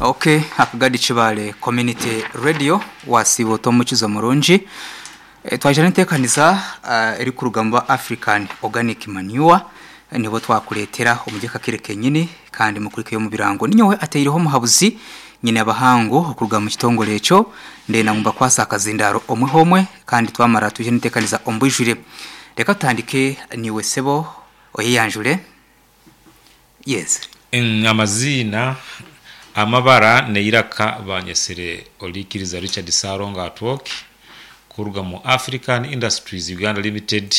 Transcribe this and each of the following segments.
Ok Akagadi Kibaale Community Radio wasiiba ota omukizo murungi. Twaija n'enteekaniza erikuruga omu ba African Organic Manure nibo twakureetera omuri aka kaire kenyini kandi mukurikeyo omu birango. Ninyowe ateireho omuhabuzi nyine abahangu okuruga omu kitongore ekyo ndenda ngu mbakwase akazindaaro omwe homwe kandi twamara twije n'enteekaniza omu bwijwire. Reka tutandike naiwe sebo oyeyanjure. Yes. Amaziina, amabara n'eiraka banyetsire Orikiriza Richard Ssalongo Atwoki kuruga mu African Industries Uganda Limited,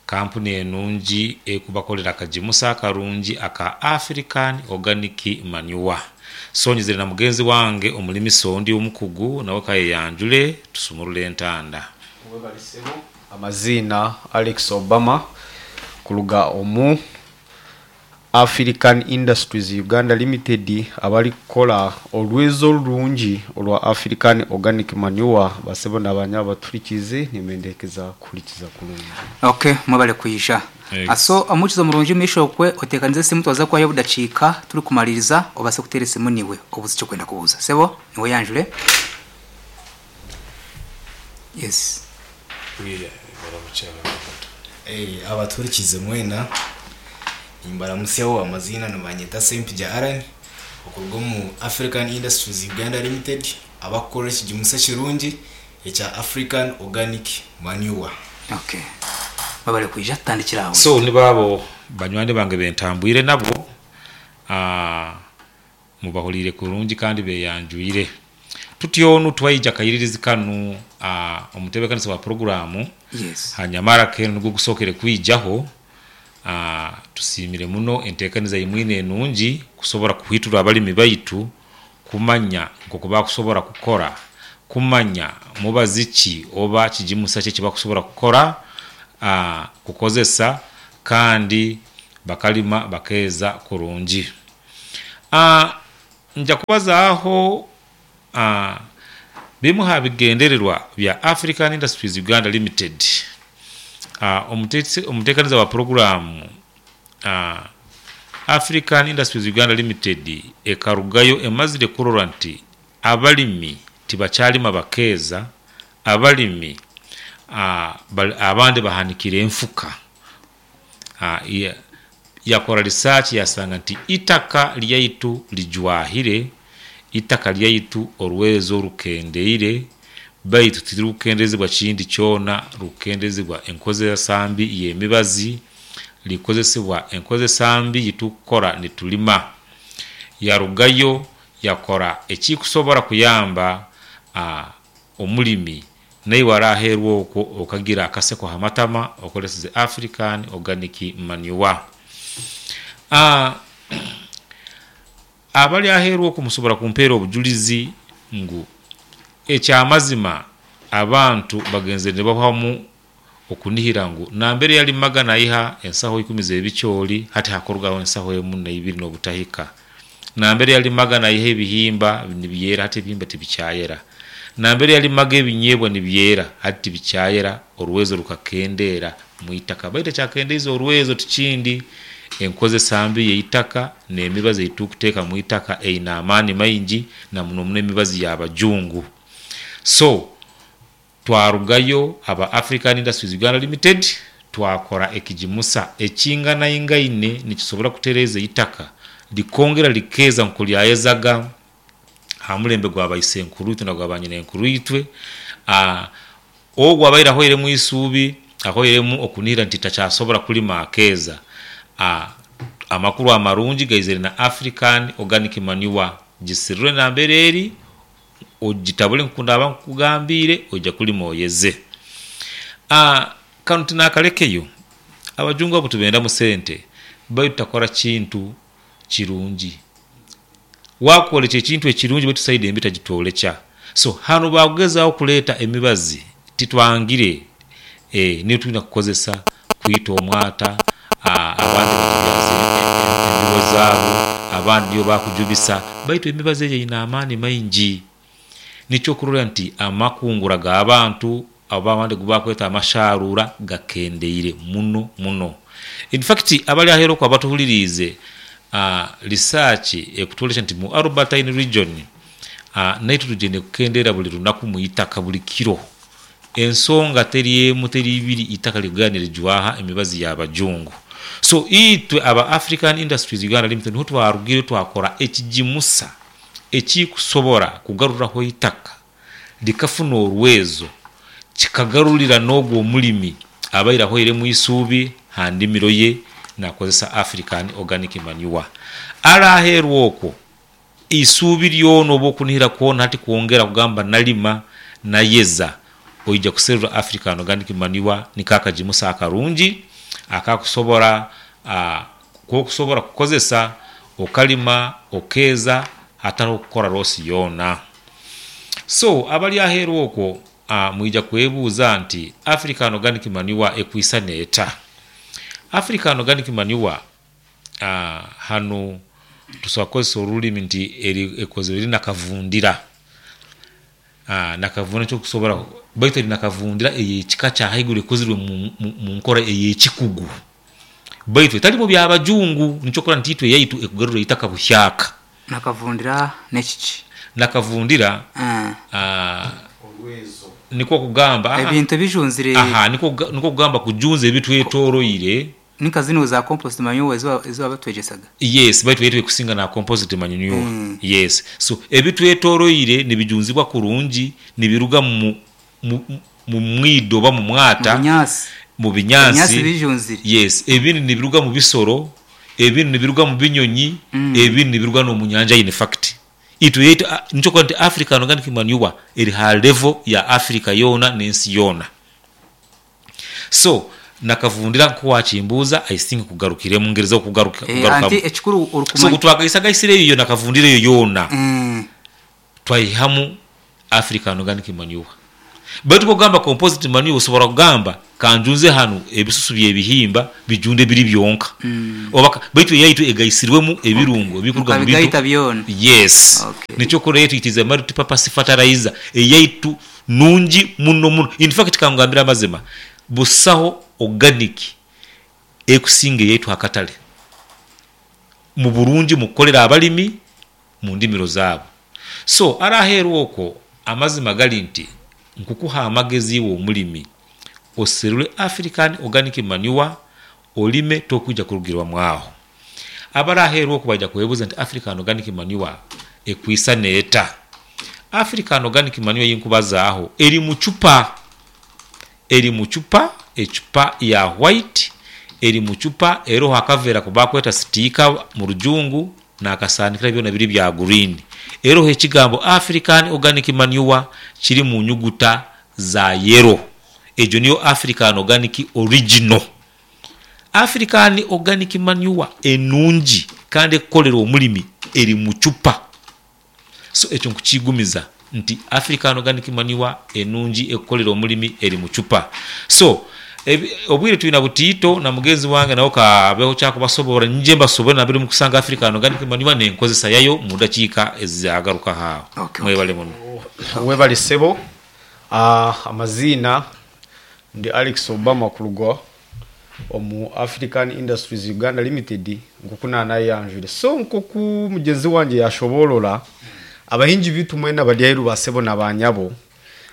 kampuni enungi erikubakorera akagimusa akarungi aka African Organic Manure. So nyizire na mugenzi wange omurimisa ondi omukugu nawe kayeyanjure tusumurure entanda. Webale sebo. Amaziina Alex Obama kuruga omu African Industries Uganda Limited abarikukora orwezo orurungi orwa African Organic Manure. Basebo na banyabo abatuhurikiize nimbendeekeza kuhurikiza kurungi. Ok mwebale kwija. So omukizo murungi omumaisho okwe otekanize esimu twaza kuhayo obudakiika turikumaririza obase kuteera esimu niiwe obuuze eki orikwenda kubuuza. Sebo niiwe oyanjure. Yes. Abatuhurikiize mwena, nimbaramutsyaho amaziina nibanyeta Ssempijja Allan okuruga omu African Industries Uganda Limited abakukora ekigimusa ekirungi ekya African Organic Manure. Okay. Webale kwija tutandikire aho. So nibo abo banywani bange bentambwire nabo, Mubahuriire kurungi kandi beyanjwire. Tutyo nu twaija akairirizi kanu omutebekanisa wa puroguraamu hanyamara kenu nigwo gusookere kwijaho. Tusiimire muno enteekaniza ei mwine enungi kusobora kuhwiturwa abalimi baitu kumanya nk'oku bakusobora kukora, kumanya mubazi ki oba kigimusa ki eki bakusobora kukora, kukozesa kandi bakalima bakeeza kurungi. Nja kubazaaho bimu ha bigendererwa bya African Industries Uganda Limited. Omuteekaniza wa puroguraamu African Industries Uganda Limited ekarugayo emazire kurora nti abalimi tibakyalima bakeeza, abalimi abandi bahanikire enfuka. Yakora risaaki yasanga nti eitaka lyaitu rijwahire, eitaka lyaitu orwezo rukendeire, baitu tiririkukendezibwa kindi kyona, rukukendezibwa enkozesa mbi y'emibazi, rikozesibwa enkozesa mbi yitukukora nitulima. Yarugayo yakora ekikusobora kuyamba omulimi Naiwe araaheerwa okwo okagira akaseko ha matama okoresize African Organic Manure. A Abali aheeru okwo musobora kumpeera obujulizi ngu eky'amazima abantu bagenzire nibahwamu okunihira ngu nambere yalimaga naiha ensaho ikumi z'ebicoori hati hakurugaho ensaho emu naibiri n'obutahika. Nambere yalimaga naiha ebihimba nibyera hati ebihimba tibikyayera. Nambere yalimaga ebinyeebwa nibyera hati tibikyayera, orwezo rukakendeera mu itaka. Baitu ekyakendeize orwezo tikindi, enkozesa mbi y'eitaka n'emibazi ei turikuteeka mu itaka eine amaani maingi na muno muno emibazi y'abajungu. So, Twarugayo aba African Industries Uganda Limited twakora ekigimusa ekinganaingaine nikisobora kutereeza eitaka likongera likeeza nkoku lyayezaga aha mulembe gwa baisenkuruitwe na gwa banyinenkuruitwe. Ogwo abaire ahwairemu eisuubi, ahwairemu okunihira nti takyasobora kulima akeeza, amakuru amarungi gaizire na African Organic Manure gisirire nambere eri. Ogitabule nk'oku ndaaba nkugambiire, oija kulima oyeze. Kanu tinaakalekeyo. Abajungu abo tibendamu sente, baitu takora kintu kirungi. Wakwolekya ekintu ekirungi baitu saidi embi tagitwolekya. So hanu baakugezaaho kuleeta emibazi, titwangire, niyo twine kukozesa kwita omwata, abandi batubyaza embibo zaabo, abandi niyo bakujubisa, baitu emibazi eyo eine amaani maingi. N'eky'okurora nti amakungura g'abantu oba abandi agu bakweta amasharuura gakendeire muno muno. In fact abali aheeru okwo abatuhuliriize, Research ekutworekya nti mu Albertine region nitrogen ekukendeera buli lunaku mu itaka buli kiro. Ensonga teri emu teri ibiri itaka rikugenda nirijwaha emibazi ya bajungu. So itwe aba African Industries Uganda Limited niho twarugire twakora ekigimusa ekikusobora kugaruraho eitaka rikafuna orwezo kikagarurira n'ogwo omurimi abaire ahwairemu eisuubi ha ndimiro ye nakozesa African Organic Manure. Araheerwa okwo Eisuubi lyona oba okunihira kwona hati kwongera kugamba nalima, nayeza, oija kuserura African Organic Manure niko akagimusa akarungi akakusobora kokusobora kukozesa okalima okeeza hatariho kukora loss yoona. So abari aheeru okwo mwija kwebuuza nti African Organic Manure ekwisana eta? African Organic Manure Hanu tusobora kukozesa orulimi nti eri ekozirwe eri nakavundira. Nakavundira nikyo okusobora baitu eri nakavundira ey'ekika kya haiguru ekozirwe mu nkora ey'ekikugu baitu etali mu byabajungu. Nikyo okurora nti itwe eyaitu ekugarura eitaka buhyaka. Nakavundira n'ekiki? Nakavundira nikwo kugamba Ebintu ebijunzire. Aha nikwo kugamba kujunza ebitwetoroire. Ninka zinu za compost manure ezi wabatwegyesaga? Yes, baitu eitwe ekusinga na compost manure. Yes. So ebitwetoroire nibijunzibwa kurungi nibiruga mu mu mwido oba mu mwata, Mu binyaasi. mu Ebinyaasi binyaasi. bijunzire. Yes, ebindi nibiruga mu bisoro, ebindi nibiruga mu binyonyi, ebindi nibiruga n'omu nyanja in fact. Itwe eyaitu nikyo orikureeba nti African Organic Manure eri ha level ya Africa yoona n'ensi yoona. So nakavundira nkoku wakimbuuza I think nkugarukiremu ngerizeho Eh, kugarukamu. anti ekikuru So orikumanya. obu twagaisagaisire eyo nakavundira eyo yoona twaihamu African Organic Manure. Baitu ku okugamba composite manure osobora kugamba kanjunze hanu ebisusu by'ebihimba bijunde biri byonka oba baitu eyaitu egaisirwemu ebirungo ebikuruga mu bintu Mukabigaita byona. Yes. Okay. Nikyo okurora eyaitu it is a multi-purpose fertilizer. Eyaitu Nungi muno muno. In fact kangugambire amazima, busaho organic ekusinga eyaitu aha katare mu burungi mu kukorera abarimi mu ndimiro zaabo. So ari aheeru okwo amazima gari nti nkukuha amagezi iwe omurimi oserure African organic manure orime tokwija kurugirwamu aho. Abari aheeru okwo baija kwebuuza nti African organic manure ekwisana eta? African Organic Manure ei nkubazaaho eri mu cupa. Eri mu cupa, ecupa ya white, eri mu cupa eroho akaveera aku bakweta sitiika mu Rujungu n'akasaanikira byona biri bya green. Eroho ekigambo African Organic Manure kiri mu nyuguta za yellow. Egyo niyo African Organic Original. African Organic Manure enungi kandi ekukorera omurimi eri mu cupa. So ekyo nkukigumiza nti African Organic Manure enungi ekukorera omurimi eri mu cupa. So obwire twina butiito na mugenzi wange nawe kaabeho kyakubasoborra nyije mbasoborre nambere mukusanga African Organic Manure n'enkozesa yayo mu dakiika ezagarukaho aho. Okay, okay. Mwebale muno. Webale sebo. Amaziina ndi Alex Obama kuruga omu African Industries Uganda Limited nk'oku naanayeyanjwire. So nk'oku mugyenzi wangye yaashoboorora, abahingi baitu mwena abari aheeru ba sebo na ba nyabo,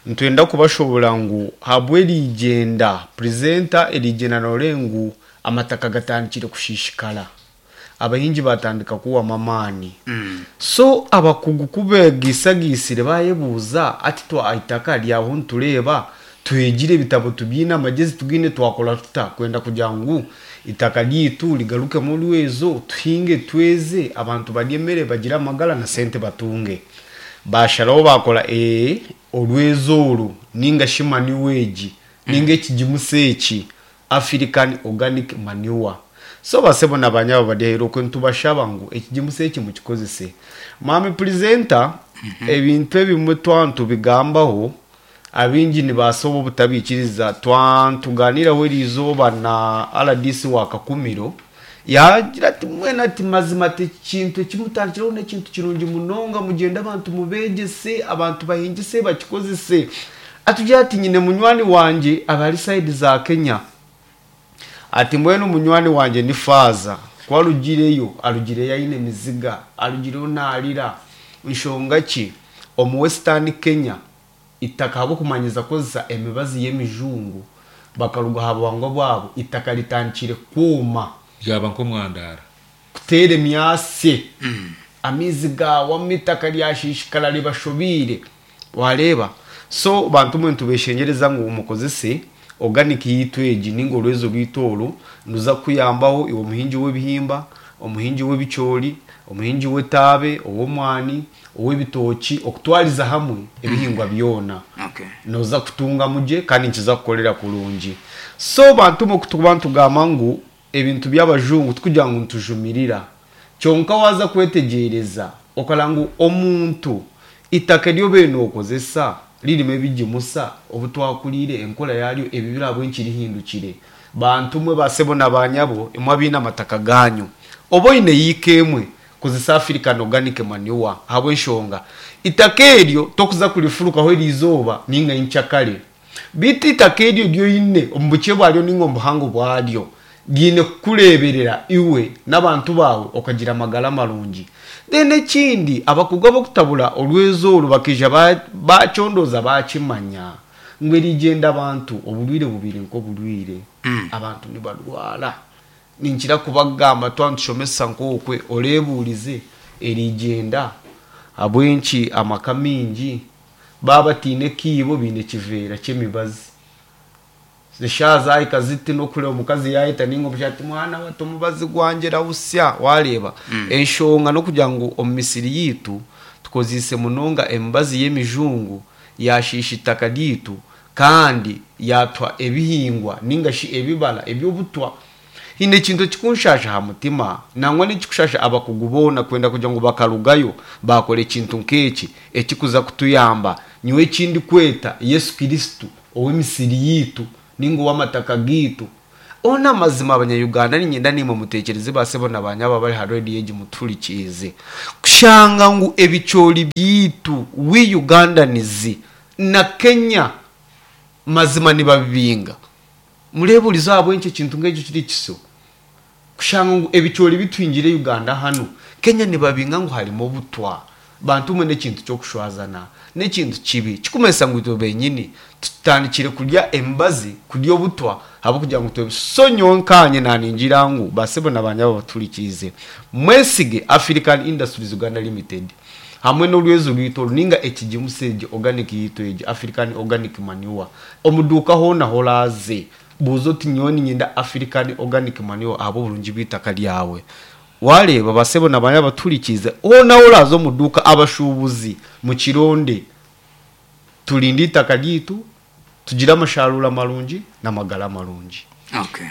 nitwenda kubashoboorora ngu ahabw'erigyenda, presenter erigyenda nooreeba ngu amataka gatandikire kushiishikara. Abahingi baatandika kuhwamu amaani. So abakugu ku beegaisagaisire baayebuuza ati twa eitaka ryaho nitureeba twegire ebitabo tubyine amagyezi tugaine twakora tuta kwenda kugira ngu eitaka ryaitu rigarukemu orwezo tuhinge tweze abantu barye emere bagire amagara na sente batunge. Baasharaho baakora ee orwezo oru ninga shi manure egi ninga ekigimusa eki African organic manure. So basebo na banyabo bari aheeru okwe nitubashaba ngu ekigimusa eki mukikozese. Mwami Purezenta, ebintu ebimwe twaba nitubigambaho, abaingi nibaasa oba obutabiikiriza. Twaba nitugaaniiraho eriizooba na rdc wa Kakumiro, yaagira ati mbwenu ati mazima ati eki kintu eki mutandikireho n'ekintu kirungi munonga, mugyende abantu mubeegyese, abantu bahingise bakikozese. Atugira ati nyine munywani wangye aba ari sayidi za Kenya. Ati mbwenu munywani wangye ni faaza. Ku arugireyo, arugireyo aine emiziga, arugireyo naarira. Nshonga ki? Omu Western Kenya, eitaka ahabw'okumanyiiza kukozesa emibazi y'emijungu, bakaruga aha buhangwa bwabo, eitaka ritandikire kwoma. Ryaba nk'omwandaara. Kuteera emyatsi, amaizi gaawamu eitaka ryashiishikara ribashobeire. Wareeba? So bantu mwe nitubeshengyereza ngu mukozese organic yaitu egi ninga orwezo rwaitu oru niruza kukuyambaho iwe omuhingi w'ebihimba, omuhingi w'ebicoori, omuhingi w'etaabe, ow'omwani, ow'ebitookye okutwariza hamwe ebihingwa byona. Okay. Noza kutungamu gye kandi nikiza kukukorera kurungi. So bantu mwe kutukuba nitugamba ngu Ebintu by'abajungu tikugira ngu nitujumirira, kyonka waaza kwetegyereza okareba ngu omuntu eitaka eri obaire nookozesa ririmu ebigimusa obu twakuriire enkora yaaryo ebibire ahabw'enki rihindukire. Bantu mwe ba sebo na ba nyabo imwe abaine amataka gaanyu, oba oine yiika emwe, kozesa African organic manure ahabw'enshonga eitaka eryo tokuza kurifurukaho eriizooba ninga nyenkyakare. Beitu eitaka eryo eri oine omu bukye bwaryo nainga omu buhango bwaryo, ryine kukureeberera iwe n'abantu baawe okagira amagara marungi. Then ekindi, abakugu ab'okutabura orwezo oru bakaija baakyondooza baakimanya ngu erigyenda abantu oburwaire bubaire nk'oburwaire. Abantu nibarwara. Ninkira kubagamba twaba nitushomesa nk'okwe oreebuurize erigyenda ahabw'enki amaka maingi Baaba bataine kiibo baine kiveera ky'emibazi. Eshaaha zaahika ziti n'okureeba omukazi yaayeta nainga omushaija ati mwana we ati omubazi gwangye rawusya waareeba. Enshonga n'okugira ngu omu misiri yaitu tukozeise munonga emibazi y'emijungu yaashiisha eitaka ryaitu kandi yaatuha ebihingwa nainga shi ebibara eby'obutwa. Haine ekintu ekirikunshasha aha mutima, nangwa n'ekirikushaasha abakugu boona kwenda kugira ngu bakarugayo baakora ekintu nk'eki ekirikuza kutuyamba. Nyowe eki ndikweta Yesu Kristo ow'emisiri yaitu nainga ow'amataka gaitu. Hoona amazima Abanya-Uganda niinyenda naimwe muteekyereze ba sebo na ba nyabo abari aha rediyo egi mutuhurikiize kushanga ngu ebicoori byaitu we Ugandans na Kenya mazima nibabibinga. Mureebuurize ahabw'enki ekintu nk'ekyo kiri kisyo. Kushanga ngu ebicoori bituhingire Uganda hanu, Kenya nibabinga ngu harimu obutwa. Bantu mwe n'ekintu ky'okushwazana. N'ekintu kibi. Kirikumanyisa ngu itwe benyini tutandikire kurya emibazi, kurya obutwa ahabw'okugira ngu twe. So nyowe nkaanye naaningira ngu basebo na banyabo abatuhurikiize, mwesige African Industries Uganda Limited. Hamwe n'orwezo rwaitu oru nainga ekigimusa egi organic yaitu egi, African organic manure. Omu duuka hoona ahu oraaze, buuza oti nyowe niinyenda African organic manure ahabw'oburungi bw'eitaka ryawe. Waareeba ba sebo na ba nyabo abatuhurikiize, hoona ahu oraaze omu duuka, abashuubuzi mukironde. Turinde eitaka ryaitu, tugire amasharuura marungi n'amagara marungi. Okay.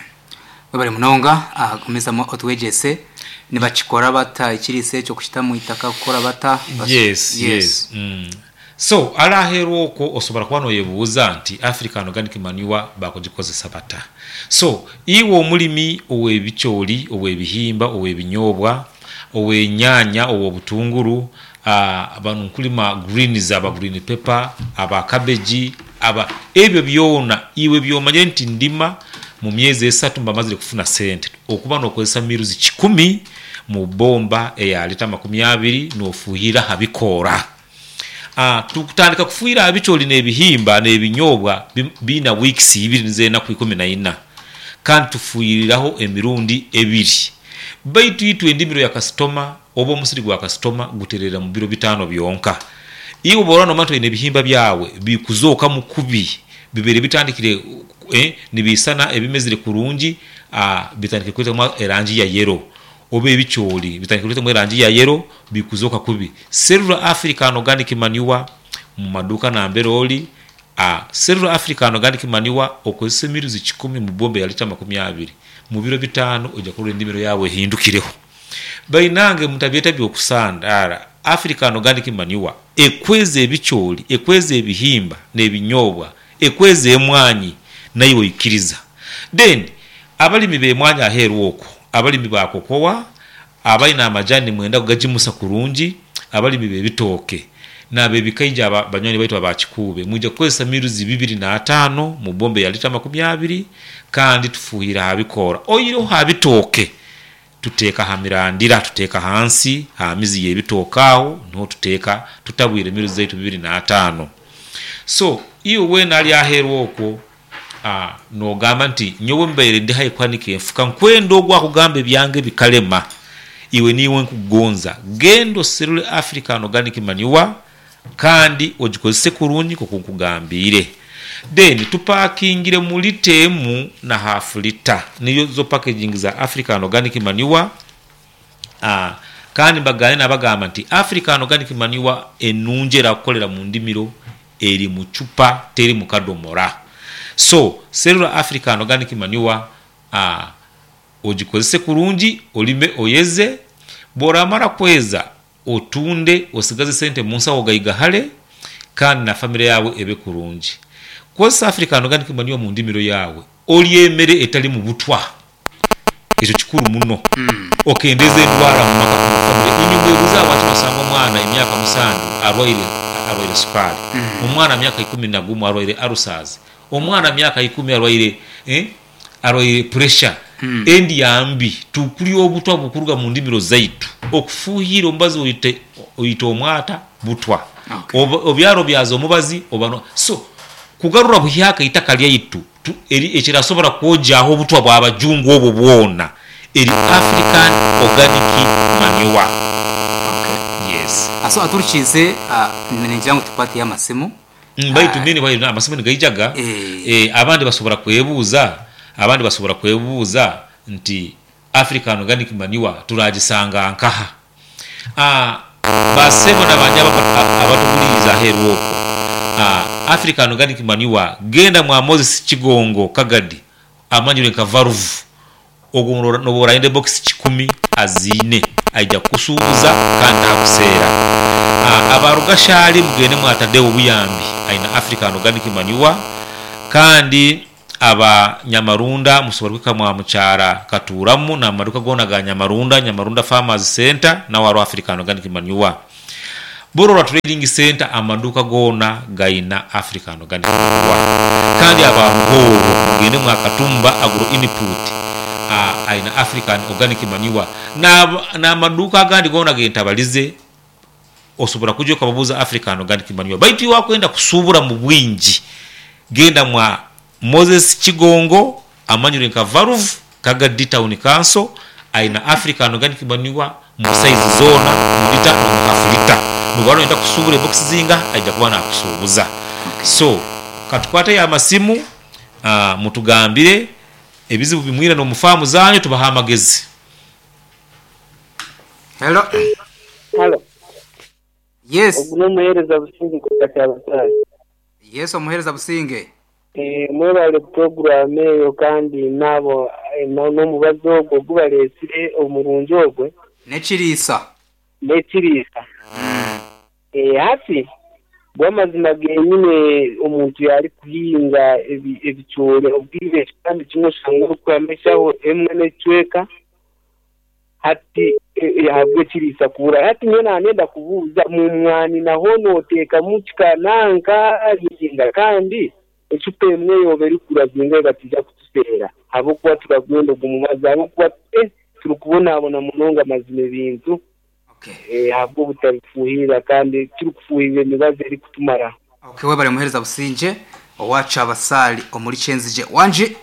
Webare munonga gumizamu otwegyese. Nibakikora bata ekiriisa ekyo kukita omu itaka kukora bata? Yes, yes. So hare aheeru okwo osobora kuba noyebuuza nti African organic manure bakugikozesa bata? So iwe omurimi ow'ebicoori, ow'ebihimba, ow'ebinyoobwa, ow'enyaanya, ow'obutunguru, banu nkurima greens, aba green pepper, aba cabbage, aba ebyo byona iwe byomanyire nti ndima mu myezi esatu mba mazire kufuna sente okuba nokozesa miruzi kikumi mu bomba eya lita 20 nofuhirira aha bikoora. Tukutandika kufuhirira aha bicoori n'ebihimba n'ebinyobwa biina weeks ibiri nizo enaku 14 kandi tufuhiriraho emirundi ebiri baitu itwe endimiro ya kasitoma Oba omusiri gwa kasitoma guterera mu biro bitaano byonka. Iwe bw'oraba noomanya nti oine ebihimba byawe bikuzookamu kubi, bibaire bitandikire nibiisana ebimezire kurungi, bitandikire kwetamu erangi ya yero, oba ebicoori bitandikire kwetamu erangi ya yero bikuzooka kubi, serura African Organic Manure mu maduuka nambere ori. Serura African Organic Manure okozese emiruzi kikumi mu bomba ya lita 20. Mu biro bitaano oija kurora endimiro yaawe ehindukireho. Bainange mutabyeta by'okusandaara, African Organic Manure ekweza ebicoori, ekweza ebihimba n'ebinyoobwa, ekweza emwaanyi naiwe oikiriza. Then abalimi b'emwaanyi aheeru okwo, abalimi ba kokowa, abaine amajani nimwenda kugagimusa kurungi, abalimi b'ebitooke n'ab'ebikaija aba banywani baitu aba Kikuube, mwija kukozesa miruzi 205 mu bomba eya lita 20 kandi tufuuhire aha bikoora oihireho aha bitooke. Tuteeka ha mirandira, tuteeka hansi ha mizi y'ebitooke agho niho tuteeka tutabwire miruzi zaitu 25. So iwe weena ali aheeru okwo noogamba nti nyowe mbaire ndi haihi kuhanika enfuka nkwenda ogwo akugamba ebyange bikalema, iwe niiwe nkugonza. Genda oserule African Organic Manure kandi ogikozese kurungi nk'oku nkugambiire. Then tupakingire mu lita emu na hafu lita, niyo zo packaging za African Organic Manure. Kandi mbagambye nabagamba nti African Organic Manure enungi erakukolera mu ndimiro eri mu chupa teri mu kadomora. So serura African Organic Manure ogikozese kurungi orime oyeze, bworamara kweza otunde osigaze sente munsawo ogaigahare kandi na famire yaawe ebe kurungi. Kozesa African Organic Manure mu ndimiro yaawe orye emere etarimu butwa. Ekyo kikuru muno. Okendeeza endwara mu maka omu famire. Inywe mwebuuze ahabwaki nosanga omwana emyaka musanju arwaire arwaire sukaali, omwana myaka 11 arwaire alusazi, omwana myaka ikumi arwaire arwaire puresha. Endya mbi, tukurya obutwa oburikuruga mu ndimiro zaitu. Okufuuhiira omubazi oite oita omwata butwa. Obyara obyaza omubazi oba no so kugarura buhyaka eitaka lyaitu Tu, eri ekirasobora kwogyaho obutwa bw'abajungu obwo bwona, eri African organic manure. Okay. Yes. So aturikiize ningira ngu tukwateyo amasimu. Baitu meanwhile amasimu nigaijaga, Eh. abandi basobora kwebuuza, abandi basobora kwebuuza nti African organic manure turagisanga nkaha? Ba sebo na ba nyabo abatuhuliriize aheeru okwo, African Organic Manure, genda mwa Moses Kigongo Kagadi amanyirwe nka Varuvu, ogwo noba orayenda ebokisi kikumi aziine, aija kukusuubuza kandi takuseera. Aba Rugashali mugende mwa Tadeo Buyambi aine African Organic Manure kandi Aba Nyamarunda musobora kuhika mwa mukyara Katuuramu n'amaduka goona aga Nyamarunda, Nyamarunda Farmers Centre naho hariho African Organic Manure. Burora Trading Centre amaduka goona gaina African Organic Manure. Kandi aba Ruhooro mugende mwa Katumba Agro Input aina African Organic Manure n'amaduuka agandi goona gentabalize. Osobora kuja okababuuza African Organic Manure. Baitu iwe wakwenda kusuubura mu bwingi, genda mwa Moses Kigongo amanyirwe nka Valve, Kagadi Town Council, aina African Organic Manure mu saizi zoona, mu lita n'omu hafu lita. Noba noyenda kusuubura ebokisi zingaha, aija kuba nakusuubuza. So, katukwateyo amasimu, mutugambire ebizibu bi mwine n'omu faamu zanyu tubahe amagezi. Hello. Halo. Yes. Ogu n'omuheereza Businge kuruga Kyabasaale. Yes omuheereza Businge. Mwebale puroguraamu eyo kandi n'abo n'omubazi ogwo ogu bareetsire omurungi ogwe. N'ekiriisa. N'ekiriisa. Hati go amazima genyine omuntu yaarikuhinga ebicoori obwire ekipande kimwe oshanga orikwihamu eshaho emwe n'ekicweka. Hati ahabw'ekiriisa kubura. Hati nyowe naanenda kubuuza, mu mwani naho nooteekamu kikananka ninga? Kandi ecupa emwe yooba erikugura zingahi bataija kutuseera ahabw'okuba turagwenda ogu mubazi ahabw'okuba eh turikubonabona munonga mazima ebintu ahabw'obutabifuuhirira kandi turikufuuhirira emibazi erikutumaraho. Okay webare muhereza Busingye owa Kyabasaali omuri Kyenzigye. Wangi?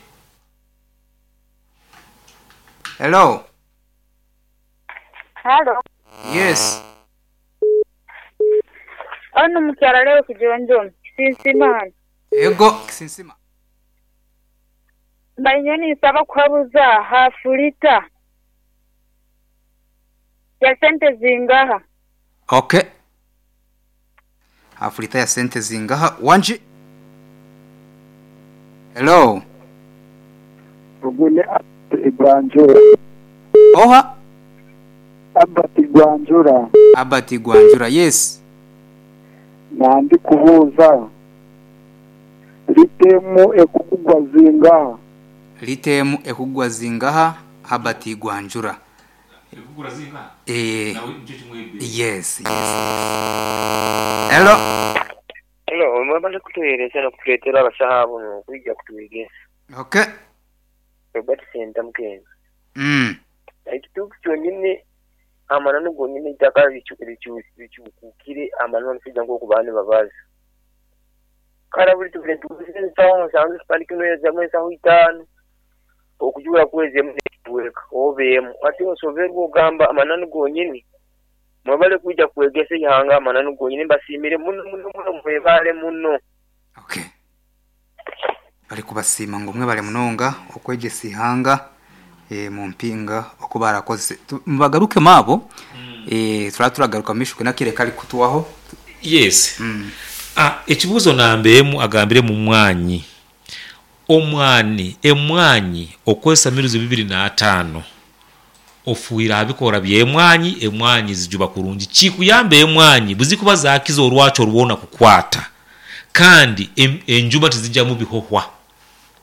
Hello. Halo. Yes. Onu mukyala Leo Kijonjomi, Kisinsima hano. Ego, Kisinsima. Mbaire nyowe ninsaba kuhabuza hafu lita ya sente zingaha? Okay. Hafu lita ya sente zingaha? Wangi. Hello. Ogu ni Albert Gwanjura. Oha? Albert Gwanjura. Albert Gwanjura, yes. Nandi kubuuza, lita emu ekukugwa zingaha? Lita emu ekugwa zingaha Herbert Gwanjura? Ekugura zingaha? Eeh. Nawe nikyo kimwe ebbeeyi. Yes, yes, yes. Hello. Hello, mwebale kutuhereza nokuturetera abasaho abo nokwija kutwegesa. Okay. Robert Sentamu Kenzo. Mm. Ekituufu kyonyini amananu gonyini eitaka ricuukukire amananu omushaija nk'oku baba nibabaza. Kare buri tubire nituguza ensaho nsanju ekipande kimwe noyezamu ensaho itaano, okujura kwezi emu n'ekicweka oba emu. Hati oshoberwa ogamba amananu gonyini. Mwebale kwija kwegesa eihanga amananu gonyini. Mbasiimire muno muno muno mwebale muno. Okay. Bari kubasiima ngu mwebale munonga okwegyesa eihanga eh, mumpinga oku barakozese. Tu- Mubagarukemu abo eh, turaba turagaruka mumaisho kwine akaire kari kutuhwaho. Yes. Ah, ekibuuzo namba emu agambiremu mwanyi. Omwani, emwanyi okozesa miruzi 25 ofuhire aha bikoora by'emwanyi, emwanyi zijuba kurungi. Kikuyamba emwanyi bwezikuba zakiza orwakyo rwona kukwata kandi enjuma tizijamu bihohwa.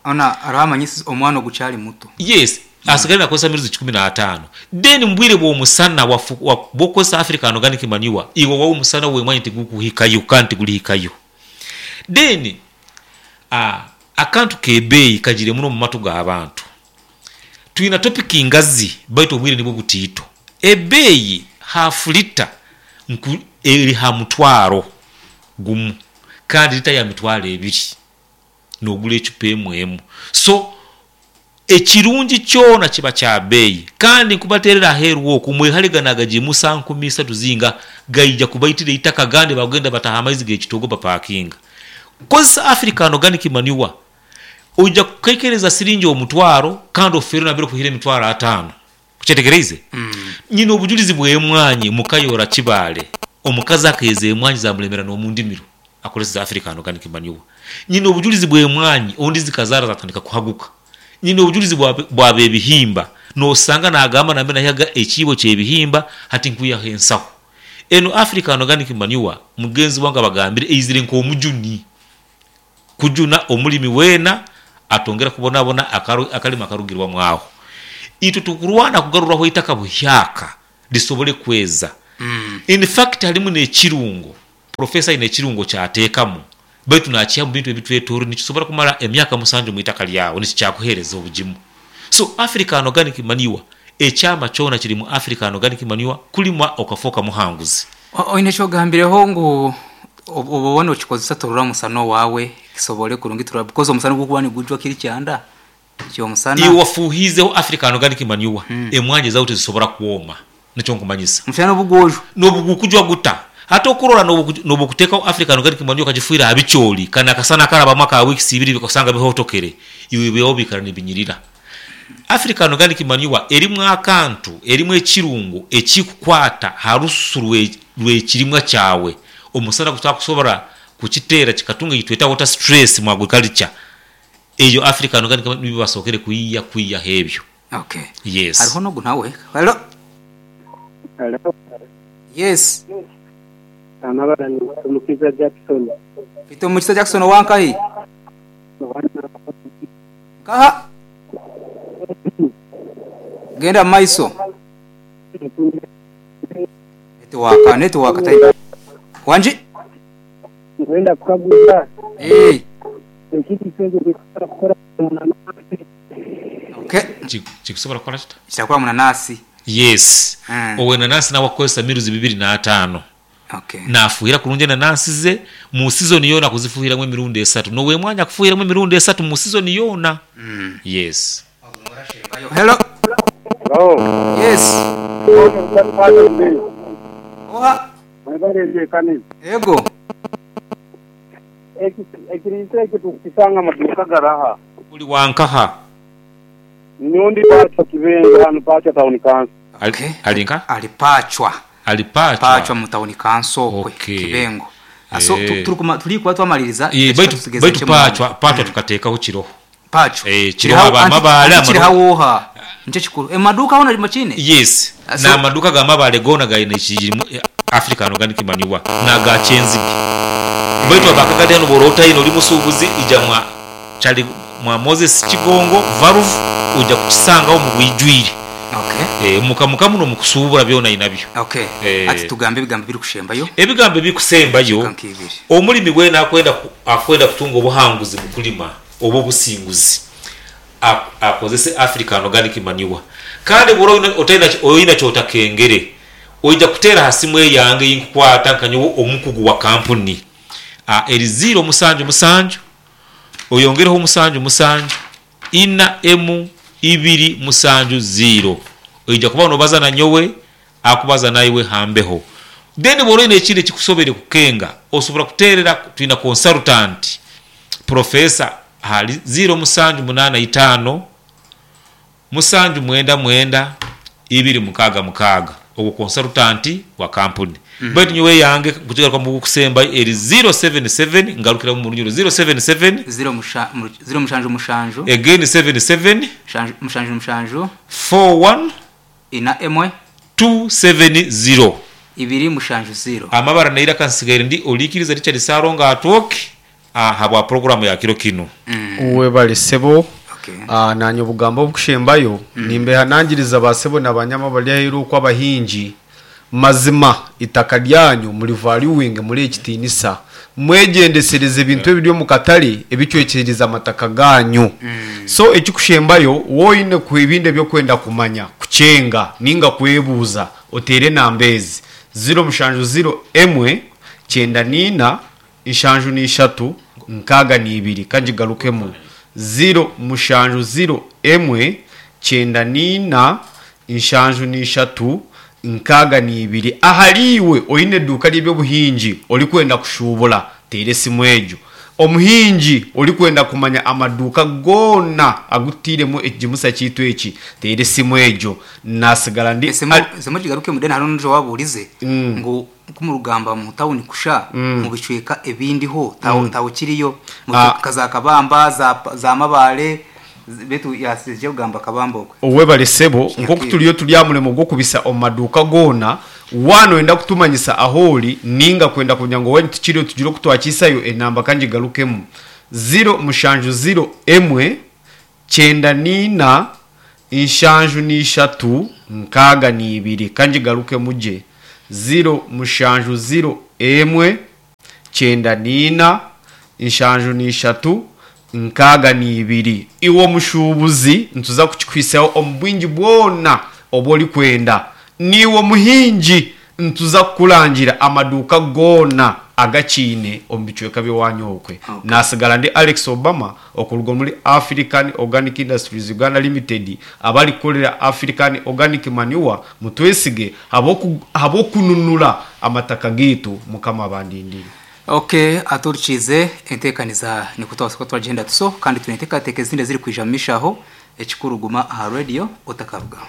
Ona hariho amanyisa omwana ogukyari muto. Yes, asigaire nakozesa miruzi 15. Then mubwire bw'omusana bwokukozesa African Organic Manure, iwe owawe omusana w'emwanyi tigukuhikayo kandi tigurihikayo. Then akantu k'ebeeyi kagire muno omu matu g'abantu. Twina topiki ngazi baitu obwire nibwo butiito. Ebeeyi hafu lita nku eri ha mutwaro gumu kandi lita ya mitwaro ebiri nogura ecupa emu emu. So ekirungi kyona kiba kya beeyi kandi nkubaterera aheeru okwo mwehare gano agagimusa 3000 zinga gaija kubaitira eitaka agandi bagenda bataha amaizi g'ekitogo bapakinga. Kozesa African Organic Manure Oija kukekereza siringi omutwaro kandi ofeerwe nambere okuhire emitwaro ataano. Okyetegereize? Nyine obujurizi bw'emwanyi Mukayora Kibaale. Omukazi akeeza emwanyi zamulemera n'omu ndimiro akoresize African Organic Manure. Nyine obujurizi bw'emwanyi ondi zikazaara zatandika kuhaguka. Nyine obujurizi bwa b'ebihimba nosanga nagamba nambere nahihaga ekiibo ky'ebihimba hati nkwihaho ensaho. Enu African Organic Manure mugenzi wange abagambire eizire nk'omujuni. Kujuna omulimi weena atongera kubonabona akalimi akarugirwamu agho. Itwe tukurwana kugaruraho eitaka buhyaka lisobole kweza. In fact halimu n'ekirungo, Professor aine ekirungo ky'ateekamu baitu nakiiha mu bintu ebitwetooroire nikisobora kumara emyaka musanju mu itaka lyawe nikikyakuheereza obugimu. So African organic manure, ekyama kyona kiri mu African organic manure kulima okafooka muhanguzi. Oine ekyogambireho ngu obu oba nokikozesa torora omusana owaawe kisobore kurungi turora because omusana ogukuba nigujwa kiri kyanda kyomusana. Iwe wafuuhiizeho African organic manure, emwanyi zaawe tizisobora kwoma. Nikyo nkumanyisa. Omushana n'obu gwojwa. N'obu gukujwa guta. Hati okurora n'obu okuteekaho African organic manure okagifuhira aha bicoori, kanu akasana akarabamu aka weeks ibiri osanga bihotokere, iwe byawe biikara nibinyirira. African organic manure erimu akantu, erimu ekirungo ekikukwata ha rususu rw'ekirimwa kyawe, omusana gutakusobora kukiteera kikatunga ekitweta water stress mu agriculture. Eyo African organic manure nibyo basookere kwiiya kwiiyaho ebyo. Okay. Yes. Hariho n'ogu nawe. Hello. Hello. Yes. Amabara ni Mukiza Jackson. Mfite Mukiza Jackson owa nkahi? Nkaha? Genda mu maiso. Netiwaaka, netiwaaka tayi. Wangi? Nkwenda kukaguza. Ee. Ekiriisa ekyo tikisobora kukora munanasi. Okay. Kikusobora kukora kita? Kitakora munanasi. Yes. Owenanasi nawe akukozesa miruzi 25. Okay. Nafuhira kurungi enanansi ze mu sizoni yoona akuzifuhiramu emirundi esatu. N'owemwanyi akufuhiramu emirundi esatu mu sizoni yoona. Yes. Hello. Hello. Yes. Oha. Mwebale enteekaniza. Ego. Ekiriisa ekyo tukukisanga amaduuka garaha? Ori wa nkaha? Nyowe ndi Paachwa Kibengo hanu Paachwa Town Council. Okay. Ali nka? Ali Paachwa. Ali Paachwa? Paachwa mu Town Council okwe Okay. Kibengo. So Eh. turikuma turi kuba twamaliriza Eh, ekika baitu tusigeze baitu nkye munonga. Paachwa Paachwa tukateekaho kiroho. Paachwa. Eh, kiroho Kiriho aba anti Mabaale anti amaru kiriho oha? Nikyo kikuru. Emaduuka hoona mukiine? Yes. So N'amaduuka ga Mabaale goona gaine ekirimu African Organic Manure n'aga Kyenzige. Baitu aba Kagadi hanu bw'ora otaine ori musuubuzi ija mwa Charlie mwa Moses Kigongo Valve oija kukisangaho omu bwijwire. Okay. Eh, muka muno omu kusuubura byona ainabyo. Okay. Eh. Hati tugambe ebigambo ebirikushembayo. Ebigambo ebirikusembayo, Dakiika nk'ibiri. omulimi weena akwenda kutunga obuhanguzi mu kulima oba obusinguzi, akozese African Organic Manure. Kandi bw'oba oine ky'otakengere, oija kuteera ha simu eyange ei nkukwata nka nyowe omukugu wa kampuni. Eri ziiro musanju musanju, oyongereho musanju musanju, ina emu ibiri musanju ziiro. Oija kuba nobaza na nyowe, akubaza naiwe ha mbeho. Then bw'oba oine ekindi ekikusobeire kukenga, osobora kuteerera twina consultant Professor ahari ziiro musanju munaana itaano, musanju mwenda mwenda ibiri mukaaga mukaaga. Ogwo konsarutanti wa kampuni. Baitu nyowe eyange nkugigarukamu ogukusembayo eri ziiro seveni seveni, ngarukiramu omu runyoro ziiro seveni seveni. Ziiro musha, ziiro mushanju mushanju. Again seveni seveni. Mushanju, mushanju mushanju. Four one. Ina emwe. Two seveni ziiro. Ibiri mushanju ziiro. Amabara n'eiraka nsigaire ndi Oliikiriza Richard Ssalongo Atwoki ahabwa puroguraamu ya kiro kinu. Webale sebo. Nanye obugambo obukushembayo nimbehanangiriza ba sebo na banyama abari aheru okwo abahingi, mazima itaka ryanyu muri valuinge murihe ekitinisa, mwegyendesereze ebintu ebiri omu katare ebicwekyereza amataka ganyu. So ekikushembayo waaba oine ebindi ebyokwenda kumanya, kukyenga ninga kwebuuza oteere enamba ezi, ziro mushanju ziro emwe, kyenda niina, Nshanju na ishatu nkaaga na ibiri. Ka ngigarukemu, ziro mushanju ziro emwe kyenda na ina nshanju na ishatu nkaaga na ibiri. Ahariiwe oine eduuka ry'eby'obuhingi orikwenda kushuubura, teera esimu egyo. Omuhingi orikwenda kumanya amaduuka goona agu tutairemu ekigimusa kyaitu eki, teera esimu egyo. Naatsigara ndi. Esimu ogigarukemu then hariho n'ondiijo owaabuurize ngu Ku murikugamba mu tawuni kusha, mu bicweka ebindi ho tawe kiriyo nka za Kabamba, za Mabaale, beitu yaatsigire kugamba Kabamba okwe. Webale sebo, nkoku turiyo turi aha murimo gw'okubisa omu maduuka goona, waaba noyenda kutumanyisa ahu ori ninga kwenda kumanya ngu owanyu tikiriyo tugire oku twakihisayo, enamba ka ngigarukemu, ziro mushanju ziro emwe Kyenda n'ina, nshanju n'ishatu, nkaaga n'ibiri. Ka ngigarukemu gye. Ziro, mushanju, ziro, emwe, kyenda n'ina, nshanju n'ishatu, nkaaga n'ibiri. Iwe omushuubuzi, nituza kukikuhitsyaho omu bwingi bwona obu orikwenda. Naiwe omuhingi, Nituza kukurangira amaduuka goona agakiine omu bicweka by'owaanyu okwe. Naatsigara ndi Alex Obama okuruga omuri African Organic Industries Uganda Limited abarikukorera African Organic Manure. Mutwesige ahabw'okununura amataka gaitu. Mukama abandindire. Ok atuhurikiize enteekaniza nikwo twabaasa kuba twagyenda tuso kandi twine enteekateeka ezindi ezirikwija omu maisho aho. Ekikuru guma aha radio otakarugaho.